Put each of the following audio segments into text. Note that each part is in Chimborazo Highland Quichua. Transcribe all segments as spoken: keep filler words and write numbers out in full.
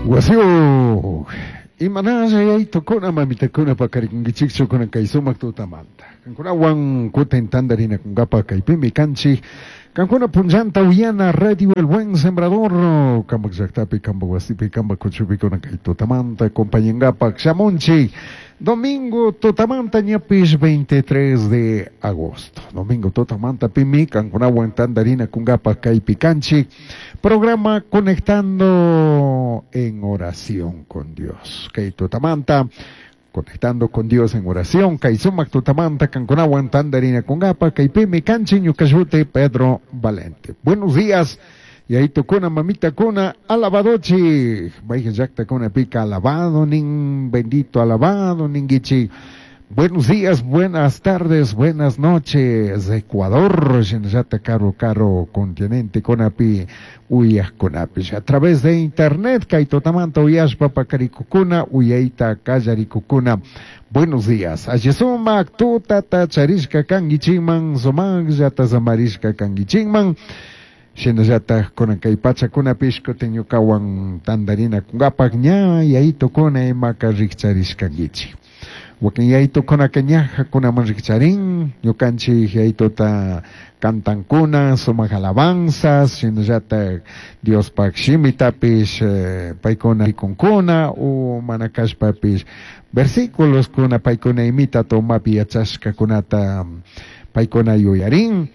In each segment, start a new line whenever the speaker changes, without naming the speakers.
Wasiu, imanalla yaytukuna mamitakuna paqarikunkichikchu kunan kay sumak tutamanta. Kankunawan kutin tantarinakunkapa kaypimi kanchik. Kankuna punllanta uyana Radio El Buen Sembrador, kampak llaktapi, kampak wasipi, kampak kuchupi kunan kay tutamanta acompañankapak shamunchik. Domingo tutamanta ñapish veintitrés de agosto. Domingo tutamanta pimi kankunawan tantarinakunkapak kaypi kanchik. Programa Conectando en Oración con Dios. Kay tutamanta, conectando con Dios en oración. Kay sumak tutamanta kankunawan tantarinakunkapa kaypimi kanchik ñuka shuti Pedro Valente. Buenos días. Yayitukuna, mamitakuna, alabadochi. Mayqin llaqtakuna pika alabado nin, bendito alabado ninkichik. Buenos días, buenas tardes, buenas noches, Ecuador, shinallata karu karu continente kunapi uyajkunapish. A través de internet, kay tutamanta uyashpa pakarikukuna, uyayta kallarikukuna. Buenos días. Alli sumak tutata charishka kankichikman, sumakllata samarishka kankichikman. Shinallata kunan kay pachakunapish kutin ñukawan tantarinakunkapak ña yayitukuna imaka rikcharishkankichik. Wakin yayitukunaka ñajakunaman rikcharin, ñukanchik yayituta cantankuna, sumak alabanzas, shinallata Diospak shimitapish, eh, paykuna rikunkuna, u mana kashpapish versículos kuna paykuna imita tomapi yachashkakunata paykuna yuyarin.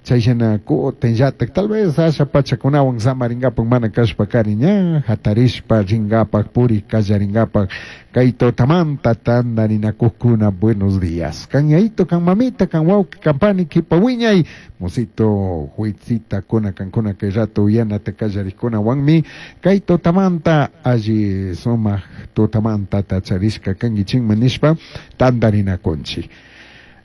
Chayshina kutinllatak tal vez asha pachakunawan samarinkapak mana kashpa kari ña hatarishpa rinkapak puri kallarinkapak kay tutamanta tantarinakukkuna. Buenos días. Kan yayito, kan mamita, kan wawqi, kan pani, kipa wiñay, musito, huitzita kuna kankuna kay rato uyanata kallarikkunawanmi kay tutamanta alli sumak tutamanta tacharishka kankichikman nishpa tantarinakunchik.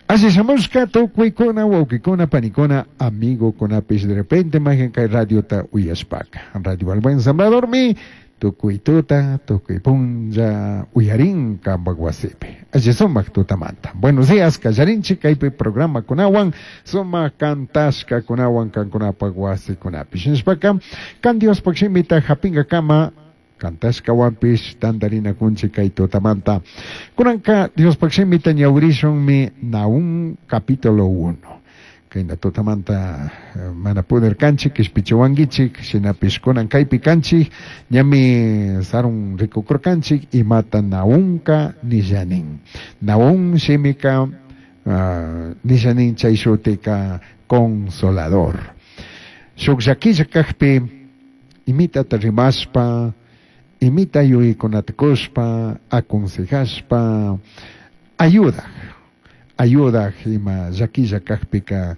Así shamushka tukuykuna, wawqikuna, panikuna, amigukunapish de repente mayqin kay radiota uyashpaka. Radio El Buen Sembrador mi tukuy tuta, tukuy punlla uyarin kampak wasipi. Alli sumak tutamanta. Buenos días, kallarinchik kaypi programa kunawan, sumak kantashka kunawan kankunapak wasikunapi. Shinashpaka, kan Diospak shimita hapinkakama kantashkawanpish tantarinakunchik kay tutamanta. Kunanka Diospak shimita ñawirishunmi Nahum capítulo uno. Kayna tutamanta mana pudirkanchik kishpichiwankichik, shinapish kunan kaypi kanchik, ñami sarun rikukurkanchik imata Nahumka nishanin. Nahum shimika, uh, nishanin chay shutika consolador. Shuk llakilla kakpi imitata rimashpa, imita yuyaykunata kushpa, aconsejashpa, ayuda, ayuda ima llakilla kakpika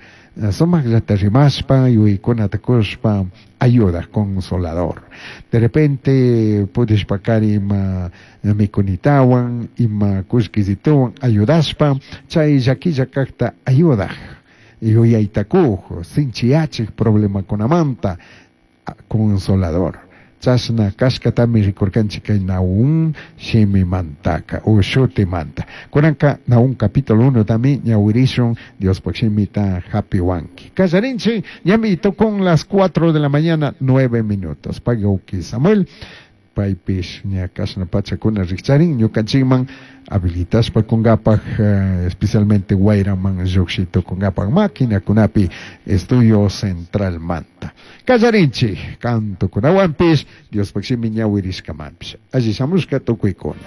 sumakllata rimashpa, yuyaykunata kushpa, ayuda, consolador. De repente pudishpakari ima mikunitawan, ima kullkisituwan ayudashpa, chay llakilla kakta ayuda, yuyayta kuj, sinchiyachik problemakunamanta, consolador. Chashna kashkatami rikurkanchik kay Nahum shimimantaka u shutimanta. Kunanka Nahum capítulo uno tami ñawirishun Diospak shimita hapiwanki. Kallarinchik ñami tukun las cuatro de la mañana nueve minutos. Pagauki Samuel paypish ña kashna pachakuna rikcharin ñukanchikman habilitashpa kunkapak, eh, especialmente wayraman lluqshi tukunkapak maquinakunapi estudio central manta. Kallarinchik kantukunawanpish Diospak shimi ñawirishkamanpish. Alli shamushka tukuykuna.